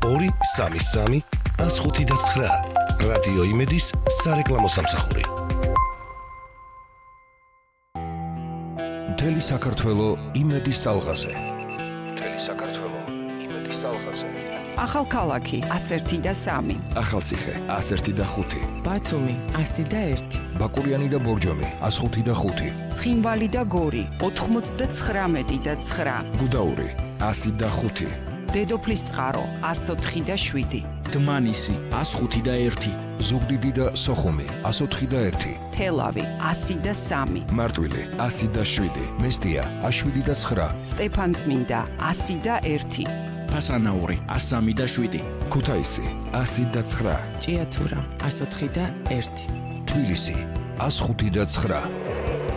233 159 რადიო იმედის სარეკლამო სამსახური. მთელი საქართველო იმედის ტალღაზე. ახალქალაქი 101 ახალციხე 101 ბათუმი 101 ბაკურიანი და ბორჯომი 105 ცხინვალი და გორი 99 და 9 გუდაური 105 დედოფლის წყარო 104 დმანისი 105 ზუგდიდი და სოხუმი 104 თელავი 103 მარტვილი 107 მესტია 109 სტეფანწმინდა 101 ფასანაური 103 ქუთაისი 109 ჭიათურა 104 თბილისი 105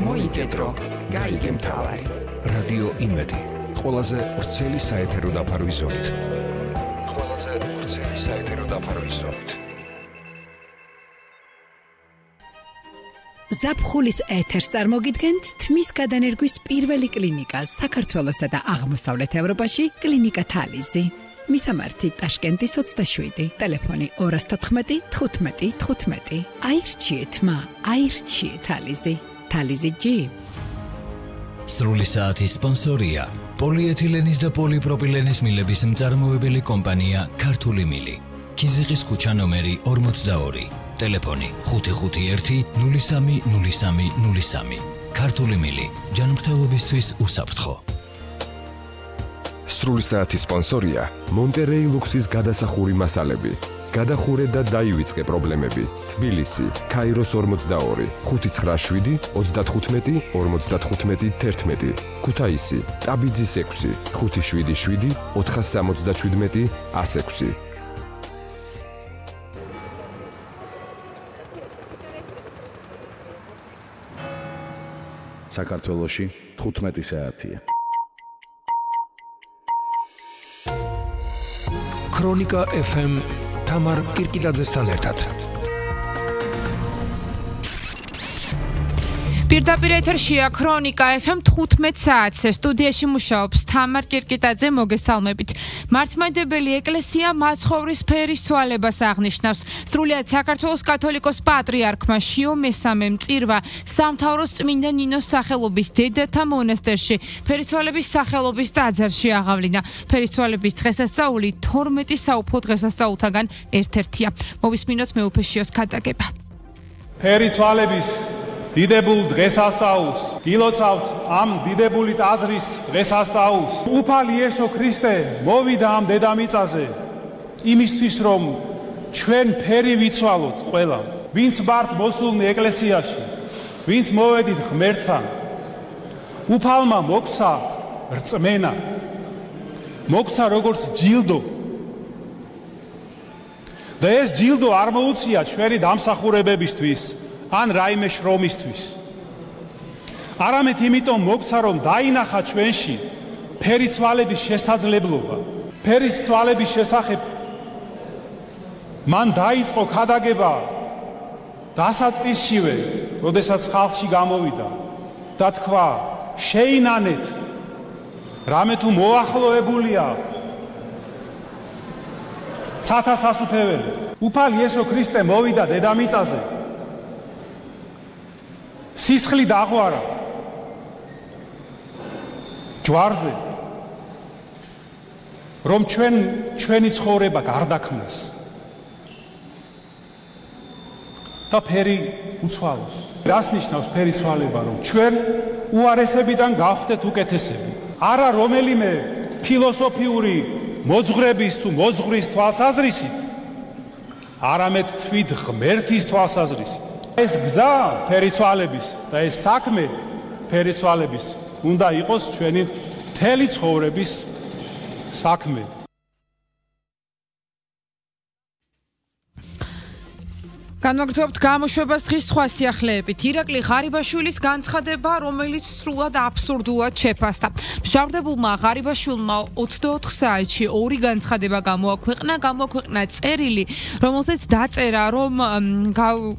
მოიგედრო გაიგე მთავარი რადიო იმედი ყველაზე ვრცელი საეთერო დაფარვის ზოლით. ზაფხულის ეთერს წარმოგიდგენთ თმის გადანერგვის პირველი კლინიკა საქართველოსა და აღმოსავლეთ ევროპაში კლინიკა თალიზი. მისამართი ტაშკენტის 27, ტელეფონი 214 15 15. აირჩიეთ თალიზი. თალიზი G. სრული საათის სპონსორია პოლიეთილენის და პოლიპროპილენის მილების მწარმოებელი კომპანია ქართული მილი. ქიზიყის ქუჩა ნომერი 42. ტელეფონი 551 030303. ქართული მილი ჯანმრთელობისთვის უსაფრთხო. სრული საათის სპონსორია მონტერეი ლუქსის გადასახური მასალები. გადახურე და დაივიწყე პრობლემები. თბილისი, ქაიროს 42, 597 35 55 11. ქუთაისი, ტაბიძის 6, 577 477 106. საქართველოში 15 საათია. ქრონიკა FM თამარ კირკიტაძესთან ერთად. პირდაპირ ეთერშია ქრონიკა FM 15 საათზე. სტუდიაში მუშაობს თამარ კირკიტაძე, მოგესალმებით. მართლმადიდებელი ეკლესია მაცხოვრის ფერის ცვალებას აღნიშნავს. სრულიად საქართველოს კათოლიკოს პატრიარქმა შიო მესამემ წირვა სამთავროს წმინდა ნინოს სახელობის დედათა მონასტერში ფერიცვალების სახელობის ტაძარში აღავლინა. ფერიცვალების დღესასწაული 12 საუფლო დღესასწაულთაგან ერთ-ერთია. მოვისმინოთ მეუფეშიოს ქადაგება. ფერიცვალების დიდებულ დღესასწაულს გილოცავთ ამ დიდებული ტაძრის დღესასწაულს. უფალი იესო ქრისტე მოვიდა ამ დედამიწაზე იმისთვის, რომ ჩვენ ფერი ვიცვალოთ ყველა, ვინც ვართ მოსულნი ეკლესიაში, ვინც მოვედით ღმერთთან. უფალმა მოგცა რწმენა, მოგცა როგორც ჯილდო. და ეს ჯილდო არ მოუწია ჩვენი დამსახურებებისთვის ან რაიმე შრომისთვის. არამედ იმიტომ მოგცა, რომ დაინახა ჩვენში ფერიცვალების შესაძლებლობა. ფერის ცვალების შესახებ მან დაიწყო ქადაგება დასაწყისშივე, როდესაც ხალხში გამოვიდა და თქვა, შეინანეთ, რამე თუ მოახლოებულია ცათა სასუფეველი. უფალი იესო ქრისტე მოვიდა დედამიწაზე სისხლი დაღვარა ჯვარზე, რომ ჩვენი ცხოვრება გარდაქმნას და ფერი უცვალოს. რას ნიშნავს ფერიცვალება? რომ ჩვენ უარესებიდან გავხდეთ უკეთესები. არა რომელიმე ფილოსოფიური მოძღვრების თუ მოძღვრის თვალსაზრისით, არამედ თვით ღმერთის თვალსაზრისით. ეს გზა ფერიცვალების და ეს საქმე ფერიცვალების უნდა იყოს ჩვენი მთელი ცხოვრების საქმე. განვაგრძობთ გამოშვებას დღის სხვა სიახლეებით. ირაკლი ღარიბაშვილის განცხადება, რომელიც სრულად აბსურდულად შეფასდა. მჟავრდებულმა ღარიბაშვილმა 24 საათში ორი განცხადება გამოაქვეყნა წერილი, რომელზეც დაწერა, რომ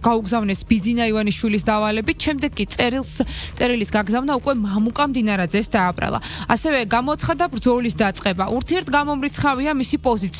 გაუგზავნეს ბიძინა ივანიშვილის დავალებით, შემდეგ კი წერილის გაგზავნა უკვე მამუკა მდინარაძეს დააბრალა. ასევე გამოაცხადა ბრძოლის დაწყება. ურთიერთგამომრიცხავია მისი პოზიცია.